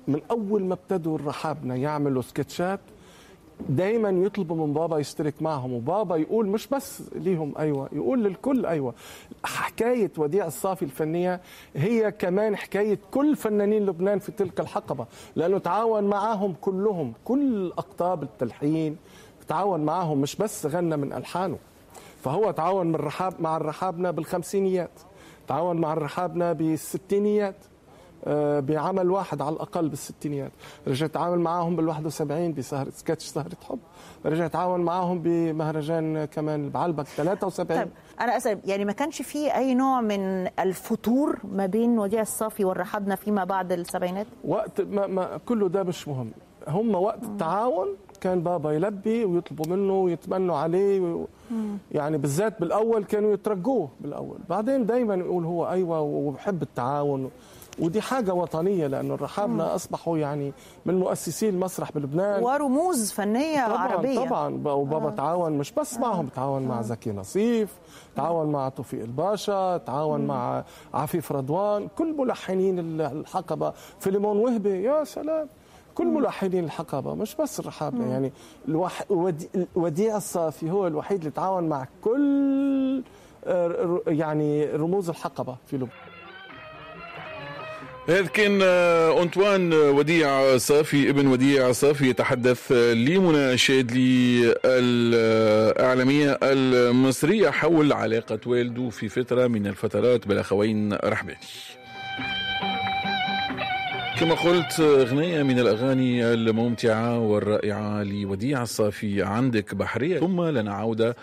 من اول ما ابتدوا الرحابنه يعملوا سكتشات دايما يطلبوا من بابا يشترك معهم، وبابا يقول مش بس ليهم ايوه، يقول للكل ايوه. حكاية وديع الصافي الفنية هي كمان حكاية كل فنانين لبنان في تلك الحقبة، لانه تعاون معاهم كلهم، كل اقطاب التلحين تعاون معاهم، مش بس غنى من الحانه. فهو تعاون من الرحاب مع الرحابنه بالخمسينيات، تعاون مع الرحابنه بالستينيات، بعمل واحد على الاقل بالستينيات، رجع تعاون معاهم بال71 بسهرة سكتش سهرة حب، رجع تعاون معاهم بمهرجان كمان بعلبك 73. طيب انا اسال، يعني ما كانش فيه اي نوع من الفتور ما بين وديع الصافي والرحابنه فيما بعد السبعينات؟ وقت ما كله ده مش مهم، هم وقت التعاون كان بابا يلبي ويطلبوا منه ويتمنوا عليه يعني بالذات بالاول كانوا يترجوه بالاول، بعدين دايما يقول هو ايوه وبحب التعاون، ودي حاجة وطنية لأنه الرحابنة أصبحوا يعني من مؤسسي المسرح بلبنان ورموز فنية طبعاً عربية. طبعا وبابا تعاون مش بس معهم، تعاون مع زكي نصيف، تعاون مع توفيق الباشا، تعاون مع عفيف رضوان، كل ملحنين الحقبة، فيليمون وهبي، يا سلام، كل ملحنين الحقبة مش بس الرحابنة. يعني وديع الصافي هو الوحيد اللي تعاون مع كل يعني رموز الحقبة في لبنان. هذا كان أنطوان وديع صافي، ابن وديع صافي، يتحدث لمنى شادلي الإعلامية المصرية حول علاقة والده في فترة من الفترات بالأخوين رحباني. كما قلت، أغنية من الأغاني الممتعة والرائعة لوديع الصافي، عندك بحرية، ثم لنا عودة.